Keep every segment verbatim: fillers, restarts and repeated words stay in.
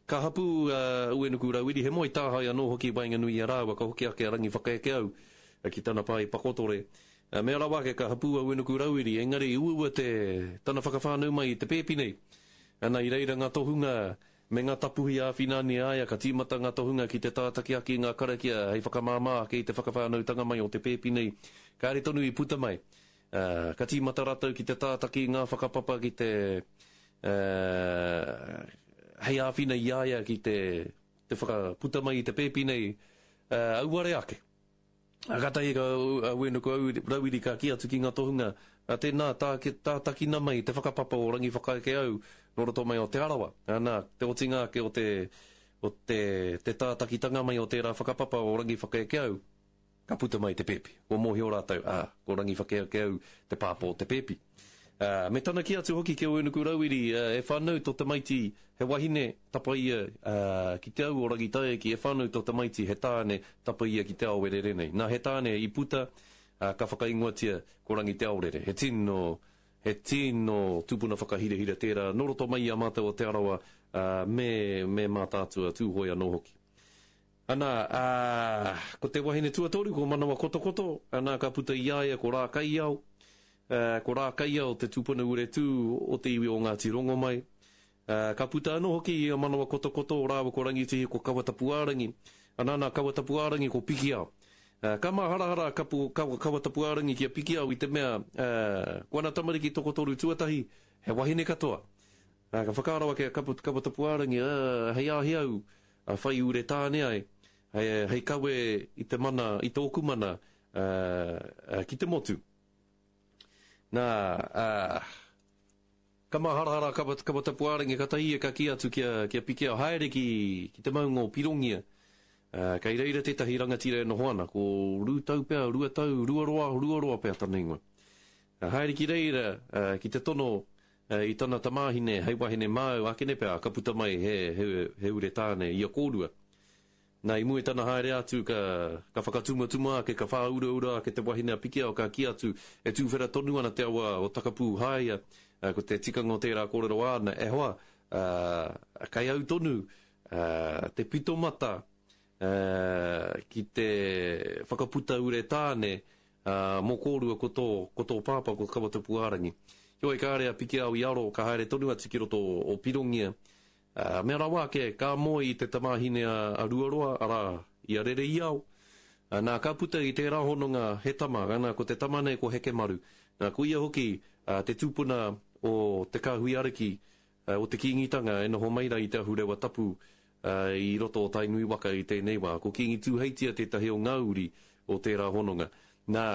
Ka hapū a Uenuku Rauiri, he moe tāhae anō hoki i waenganui i a rāua, ka hoki ake a Rangiwhakaekeau ki tana pā i Pakotore. Mea rawa ake ka hapū a Uenuku Rauiri, engari i uaua te tana whakawhānau mai i te pēpi nei. Ana i reira ngā tohunga me ngā tapuhi āwhina ani a ia, ka tīmata ngā tohunga ki te tātaki ake i ngā karakia hei whakamāmā ake i te whakawhānautanga mai o te pēpi nei. Kāre tonu i puta mai. Uh, ka tīmata rātou ki te tātaki i ngā whakapapa ki te uh, hei āwhina i a ia ki te, te whakaputa mai i te pēpi nei, uh, auare ake. A kātahi ka a Uenuku Rauiri ka kī atu ki ngā tohunga, a tēnā tā, tātakina mai te whakapapa o Rangiwhakaekeau nō roto mai o Te Arawa. Anā, te otinga ake o te, o te, te tātakitanga mai o tērā whakapapa o Rangiwhakaekeau, ka puta mai te pēpi. Kua mōhio rātou, ā, ko Rangiwhakaekeau te pāpā o te pēpi. Uh, me tana kī atu hoki ki a Uenuku Rauiri, uh, e whānau tō tamaiti he wahine, tapa ia uh, ki te au o Rangitaiki, e whānau tō tamaiti he tāne, tapa ia ki te ao e rere nei. Nā, he tāne i puta, uh, ka whakaingoatia ko Rangiteaorere. He tino, he tino tupuna whakahirahira tērā, nō roto mai i a mātou o Te Arawa, uh, me, me Mātaatua Tūhoe anō hoki. Ana, ā, ko te wahine tuatoru, ko Manawa Kotokoto, ana, ka puta i a ia ko Rākaiao, ā, ko Rākaiao te tupuna ure tū o te iwi o Ngāti Rongomai. Ā, ka puta anō hoki i a Manawa Kotokoto rāua ko Rangitihi ko Kawatapuārangi, ana, nā Kawatapuārangi ko Pikiao. Ā, ka māharahara a Kapu, Kawa, Kawatapuārangi ki a Pikiao i te mea, ā, ko ana tamariki tokotoru tuatahi, he wahine katoa. Ā, ka whakaaro ake a Kapu, Kawatapuārangi, ā, hei āhea au, a whai ure tāne ai, hei, hei kawe i te mana, i tōku mana, ā, ā, ki te motu. Nā, ā, ka māharahara a Kawa, Kawatapuārangi, kātahi ia ka kī atu ki a, ki a Pikiao, haere ki, ki te maunga o Pirongia, ā, kei reira tētahi rangatira e noho ana, ko Rūtau pea, Ruatau, Ruaroa, Ruaroa pea tana ingoa. Ā, haere ki reira, ā, ki te tono ā, i tana tamāhine hei wahine māu, ākene pea, ka puta mai he, he, he ure tāne i a kōrua. Nā, i mua i tana haere atu, ka, ka whakatumatuma ake, ka whāuraura ake te wahine a Pikiao, ka kī atu, e tūwhera tonu ana te awa o Takapū Haia, ā, ko te tikanga o tērā kōrero āna, e hoa, ā, kei au tonu, ā, te pitomata, ā, ki te whakaputa ure tāne, ā, mō kōrua ko tō, ko tō pāpā, ko Kawatapuārangi. Heoi, kāre a Pikiao i aro, ka haere tonu atu ki roto o Pirongia, ā, mea rawa ake, ka moe i te tamāhine a, a Ruaroa, arā, i a Rereiao. Ā, nā, ka puta i tērā hononga he tama, ana, ko te tama nei ko Hekemaru. Nā, ko ia hoki, ā, te tupuna o te kāhui ariki, ā, o te Kīngitanga e noho mai rā i te ahurewa tapu, ā, i roto o Tainui waka i tēnei wā. Ko Kīngi Tūheitia tētahi o ngā uri o tērā hononga. Nā,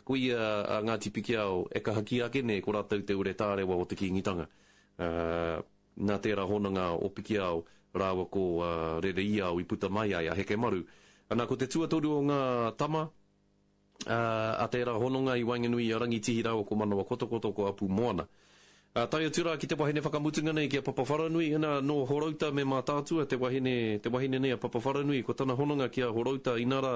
ko ia a Ngāti Pikiao e kaha kī ake nei ko rātou te ure tārewa o te Kīngitanga. Ā, nā tērā hononga o Pikiao rāua ko Rereiao i puta mai ai a Hekemaru. Ana, ko te tuatoru o ngā tama, ā, a tērā hononga i waenganui i a Rangitihi rāua ko Manawa Kotokoto ko Apu Moana. Ā, tae atu rā ki te wahine whakamutunga nei ki a Papawharanui, ina, nō Horouta me Mātaatua te wahine, te wahine nei a Papawharanui, ko tana hononga ki a Horouta, inā rā,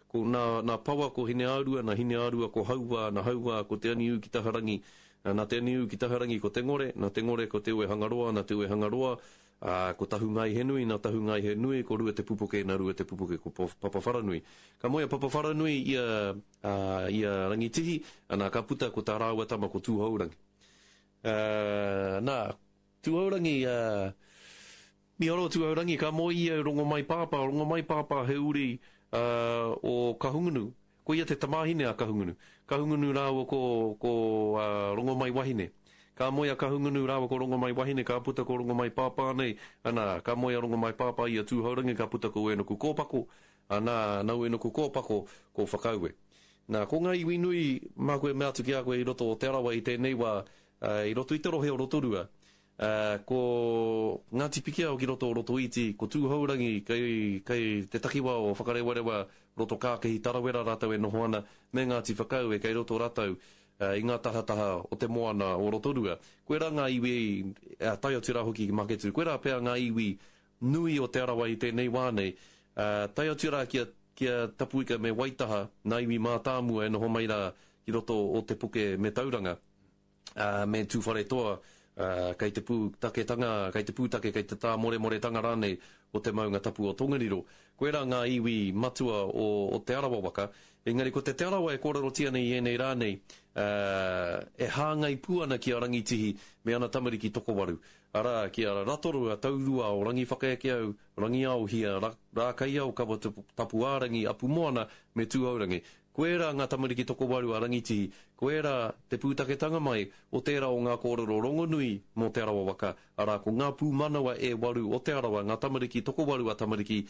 ko nā, nā Pawa ko Hineārua, nā Hineārua ko Hauā, nā Hauā ko Te Aniū ki Taharangi, ā, nā Te Aniū ki Taharangi ko Te Ngore, nā Te Ngore ko Te Uehangaroa, nā Te Uehangaroa, ā, ko Tahungaihenui, nā Tahungaihenui ko Rua Te Pupuke, nā Rua Te Pupuke ko Papawharanui. Ka moe a Papawharanui i a, ā, i a Rangitihi, ana, ka puta ko tā rāua tama ko Tūhourangi. Ā, nā, Tūhourangi, ā, mīharo Tūhourangi, ka moe ia i Rongomai Pāpā, Rongomai Pāpā he uri, ā, o Kahungunu. Ko ia te tamāhine a Kahungunu. Kahungunu rāua ko, ko, ā, Rongomai Wahine. Ka moe a Kahungunu rāua ko Rongomai Wahine, ka puta ko Rongomai Pāpā nei, ana, ka moe a Rongomai Pāpā i a Tūhourangi, ka puta ko Uenuku Kōpako, ana, nā Uenuku Kōpako ko Whakaue. Nā, ko ngā iwi nui, māku e mea atu ki a koe i roto o Te Arawa i tēnei wā, ā, i roto i te rohe o Rotorua, ā, ko Ngāti Pikiao ki roto o Rotoiti, ko Tūhourangi kei, kei te takiwā o Whakarewarewa, Roto Kākehi, Tarawera rātou e noho ana, me Ngāti Whakaue kei roto rātou, ā, i ngā tahataha o te moana o Rotorua. Koirā ngā iwi, ā, tae atu rā hoki ki Maketū, koirā pea ngā iwi nui o Te Arawa i tēnei wā nei, ā, tae atu rā ki a, ki a Tapuika me Waitaha, nā iwi mātāmua e noho mai rā ki roto o Te Puke me Tauranga, ā, me Tūwharetoa, uh, kei te pūtaketanga, kei te pūtake, kei te tāmoremoretanga rānei o te maunga tapu o Tongariro. Koirā ngā iwi matua o, o Te Arawa waka, engari ko te Te Arawa e kōrerotia nei i ēnei rā nei, uh, e hāngai pū ana ki a Rangitihi me ana tamariki tokowaru. Arā, ki a Ratorua, Taurua o Rangiwhakaekeau, Rangiaohia, Ra, Rākaiao, Kawa Tapuārangi, Apumoana me Tūhourangi. Koirā ngā tamariki tokowaru a Rangitihi, koirā te pūtaketanga mai o tērā o ngā kōrero rongonui mō Te Arawa waka, arā, ko ngā pūmanawa e waru o Te Arawa, ngā tamariki tokowaru a tamariki,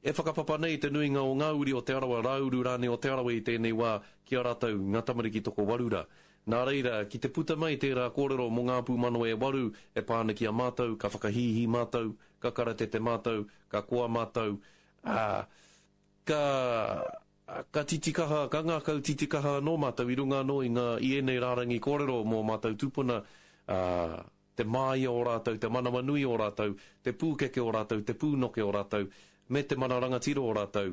e whakapapa nei te nuinga o ngā uri o Te Arawa, rāuru rānei o Te Arawa i tēnei wā ki a rātou ngā tamariki tokowaru rā. Nā reira, ki te puta mai tērā kōrero mō ngā pūmanawa e waru e pā ana ki a mātou, ka whakahīhī mātou, ka karatete mātou, ka koa mātou, ā, ka, ka titikaha, ka ngākau titikaha anō mātou i runga anō i ngā, i ēnei rārangi kōrero mō mātou tūpuna, ā, te māia o rātou, te manawanui o rātou, te pūkeke o rātou, te pūnoke o rātou, me te mana rangatira o rātou.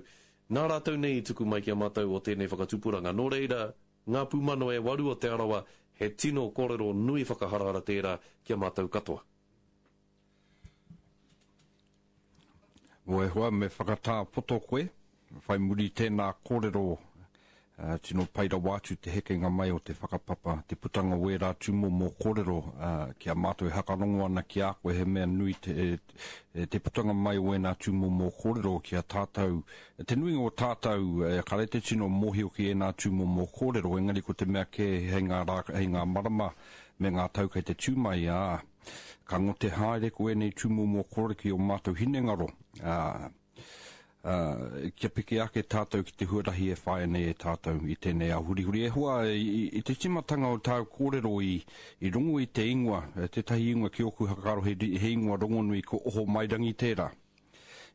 Nā rātou nei i tuku mai ki a mātou o tēnei whakatupuranga. Nō reira, ngā pūmanawa e waru o Te Arawa, he tino kōrero nui whakaharahara tērā ki a mātou katoa. O e hoa, me whakatā poto koe, whai muri tēnā kōrero, uh, tino pai rawa atu te hekenga mai o te whakapapa, te putanga o ērā tūmomo kōrero, uh, ki a mātou e hakarongo ana ki a koe, he mea nui te, e, te putanga mai o ēnā tūmomo kōrero ki a tātou. Te nuinga o tātou, e, kare te tino mōhio ki ēnā tūmomo kōrero, engari ko te mea kē hei ngā, rā, hei ngā marama me ngā tau kei te tū mai, ā, ka ngote haere ko ēnei tūmomo kōrero ki o mātou hinengaro, ā, Uh, kia piki ake tātou ki te huarahi e whāia nei e tātou i tēnei ao hurihuri. E hoa, i, i te tīmatanga o tāu kōrero i, i rongo i te ingoa, tētahi ingoa ki ōku whakaaro he, he ingoa rongonui ko Ohomairangi tērā.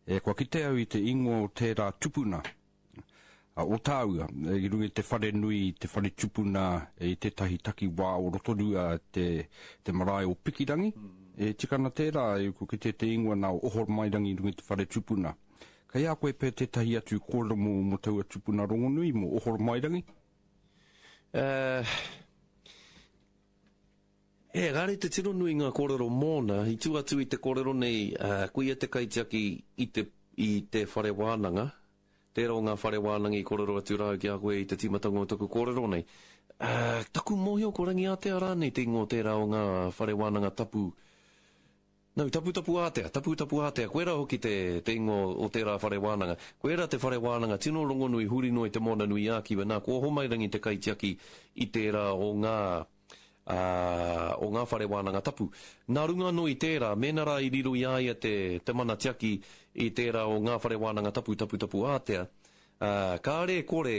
E, kua kite au i te ingoa o tērā tupuna, o tāua, i runga i te whare nui, te whare tupuna, i tētahi takiwā o Rotorua, te, te marae o Pikirangi. E tikana tērā, e, kua kite te ingoa nā Ohomairangi i runga i te whare tupuna. Kei a koe pē tētahi atu kōrero mō, mō taua tupuna rongonui, mō Ohomairangi? Uh, e, kāre te tino nui ngā kōrero mōna, i tū atu i te kōrero nei, uh, ko ia te kaitiaki i te, i te whare wānanga, tērā o ngā whare wānanga i kōrero atu rā ki a koe i te tīmatanga o taku kōrero nei. Uh, taku mōhio ko Rangiātea rānei te ingoa tērā o ngā whare wānanga tapu. No, tapu tapu ātea, tapu tapu ātea, koera hoki te, te ingoa o tērā whare wānanga. Koera te whare wānanga tino rongonui huri noa i te Moana nui ā Kiwa. Nā, ko Ohomairangi te kaitiaki i tērā o ngā, uh, o ngā whare wānanga tapu. Nā runga anō i tērā, mēnā rā i riro i a ia te, te mana tiaki i tērā o ngā whare wānanga tapu tapu tapu ātea, uh, kāre kore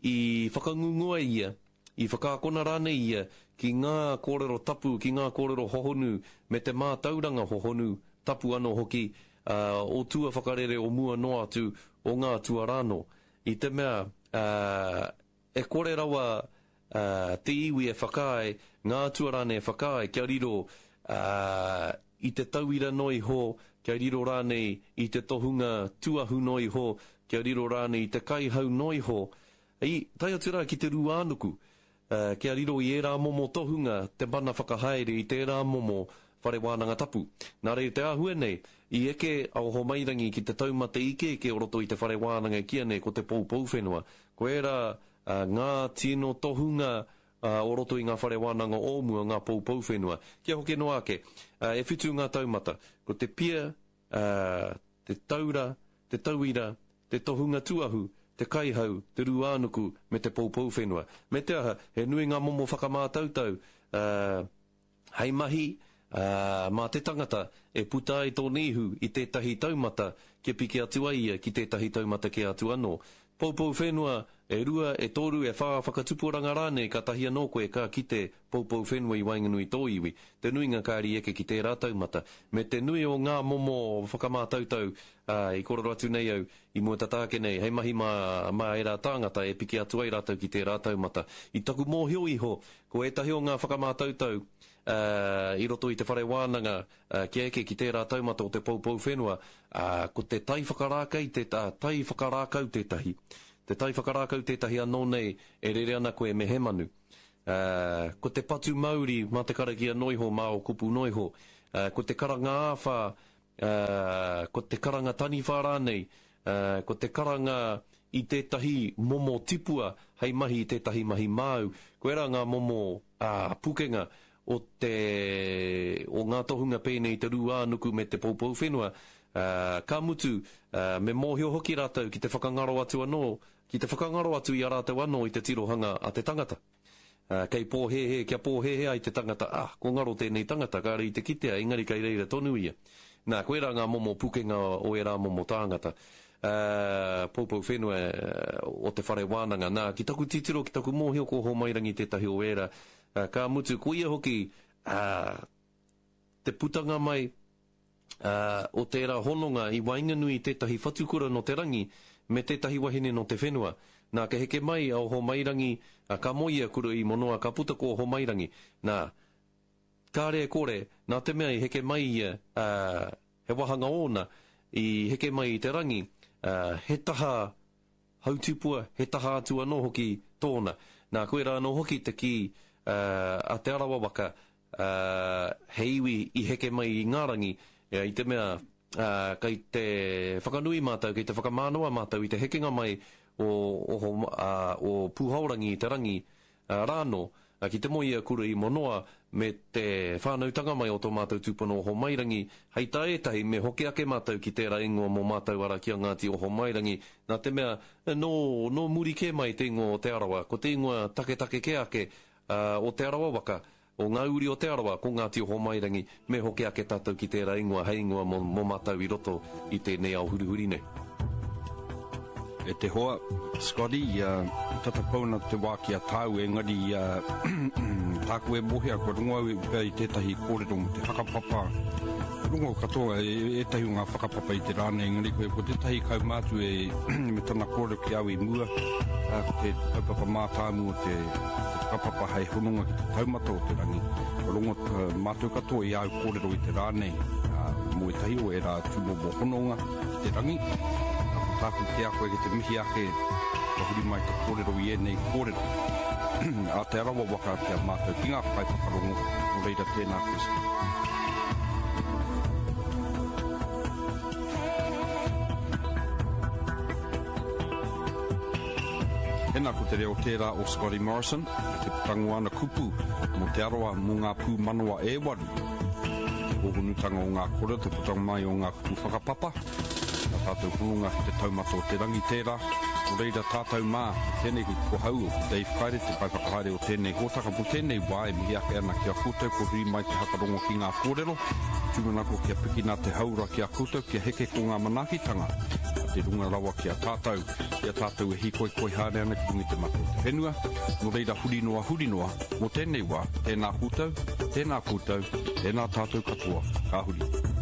i whakangungua ia, i whakaakona rānei ia ki ngā kōrero tapu, ki ngā kōrero hohonu, me te mātauranga hohonu, tapu anō hoki, uh, o tua whakarere o mua noa atu o ngā tua rānō. I te mea, uh, e kore rawa uh, te iwi e whakaae, ngā atua rānei e whakaae, kia riro uh, i te tauira noa iho, kia riro rānei i te tohunga tuahu noa iho, kia riro rānei i te kaihau noa iho, i tae atu rā ki te rūānuku, uh, kia riro i ērā momo tohunga te mana whakahaere i tērā momo whare wānanga tapu. Nā reira te āhua nei, i eke a Ohomairangi ki te taumata ikeike o roto i te whare wānanga kia nei ko te poupou whenua. Ko ērā uh, ngā tino tohunga uh, o roto i ngā whare wānanga o mua, ngā poupou whenua. Kia hoki noa ake, uh, e whitu ngā taumata. Ko te pia, uh, te taura, te tauira, te tohunga tuahu, te kaihau, te rūānuku, me te poupou whenua. Me te aha, he nui ngā momo whakamātautau, uh, hei mahi, uh, mā te tangata e puta ai tōna ihu i tētahi taumata kia piki atu ai ia ki tētahi taumata ke atu anō. Poupou whenua, e rua, e toru, e whā whakatupuranga rānei, ka tahi anō koe ka kite poupou whenua i waenganui tō iwi. Te nuinga kāri eke ki tērā taumata. Me te nui o ngā momo whakamātautau, uh, i kōrero atu nei au, i mua tata ake nei, hei mahi mā, mā ērā tāngata e piki atu ai rātou ki tērā taumata. I taku mōhio iho, ko ētahi o ngā whakamātautau, uh, i roto i te whare wānanga, uh, kia eke ki tērā taumata o te poupou whenua, uh, ko te tai whakarākei, te uh, tai whakarākau tētahi. Te tai whakarākau tētahi anō nei e rere ana koe me he manu. Uh, ko te patu mauri mā te karakia noiho, mā o kupu noiho. Uh, ko te karanga āwhā, uh, ko te karanga taniwha rānei, uh, ko te karanga i tētahi momo tipua hei mahi i tētahi mahi māu. Ko era ngā momo uh, pukenga o, te, o ngā tohunga pēnei te rūānuku me te poupou whenua. Uh, ka mutu, uh, me mōhio hoki rātou ki te whakangaro atu anō, ki te whakangaro atu i a rātou anō i te tirohanga a te tangata. Uh, kei pōhēhē, kia pōhēhē ai te tangata, ah, ko ngaro tēnei tangata, kāre i te kitea, engari kei reira tonu ia. Nā, koe rā ngā momo pukenga o e rā momo tāngata. Uh, poupou whenua uh, o te whare wānanga. Nā, ki taku titiro, ki taku mōhio ko Ohomairangi tētahi o ērā. Uh, ka mutu, ko ia hoki uh, te putanga mai uh, o tērā hononga i waenganui tētahi whatukura no te rangi me tētahi wahine no te whenua. Nā, ka heke mai a Ohomairangi, ka moe ia kura i Monoa, ka puta ko Ohomairangi. Nā, kāre e kore, nā te mea i heke mai ia, uh, he wahanga ōna, i heke mai i te rangi, uh, he taha hautupua, he taha atu anō hoki tōna. Nā, koe rā anō hoki te ki uh, a Te Arawa waka, uh, he iwi i heke mai i ngā rangi, i te mea uh, kei te whakanui mātou, kei te whakamānawa mātou i te hekenga mai o, o, o, o Pūhaorangi i te rangi uh, rāno, uh, ki te moe ia kura i Monoa me te whānautanga mai o tō mātou tūpuna Ohomairangi, hei tā ētahi me hoki ake mātou ki tērā ingoa mō mātou ara ki a Ngāti Ohomairangi, nā te mea nō, nō muri kē mai te ingoa o Te Arawa, ko te ingoa taketake kē ake uh, o Te Arawa waka, o ngā uri o Te Arawa, ko Ngāti Ohomairangi, me hoki ake tātou ki tērā ingoa, hei ingoa mō, mō mātou i roto i tēnei ao hurihuri nei. E te hoa, Scotty, uh, tata pauna te wā ki a tāu, engari uh, tāku e mohia, kua rongo au i tētahi kōrero mo te whakapapa. Rongo katoa, e, ētahi o ngā whakapapa i te rā nei, engari koe, ko tētahi kaumātu e me tana kōrero ki au i mua, uh, ko te kaupapa mātāmu o te, te whakapapa hei hononga ki te taumata o te rangi. Kua rongo uh, mātou katoa i au kōrero i te rā nei, uh, mō ētahi o ērā tūmomo hononga ki te rangi. Tāku ki a koe ki te mihi ake, ka huri mai te kōrero i ēnei kōrero. A Te Arawa waka ki a mātou ki ngā kaiwhakarongo, nō reira tēnā koe. Tēnā ko te reo tērā o Scotty Morrison, te putango ana kupu mō Te Arawa mō ngā pūmanawa e waru. Te hōhonutanga o ngā kōrero, te putanga mai o ngā kupu whakapapa, nā tātou hononga ki te taumata o te rangi tērā. Nō reira tātou mā, tēnei ki ko hau o Dave Kaire, te kaiwhakahaere o tēnei hōtaka. Mō tēnei wā e mihi ake ana ki a koutou, ko huri mai te hakarongo ki ngā kōrero. Tūmanako kia pikina te haura ki a koutou, kia heke ko ngā manaakitanga. A te runga rawa ki a tātou, ki a tātou e hīkoikoi haere ana ki runga i te mata o te whenua. Nō reira huri noa, huri noa, mō tēnei wā, tēnā koutou, tēnā koutou, tēnā tātou katoa, ka huri.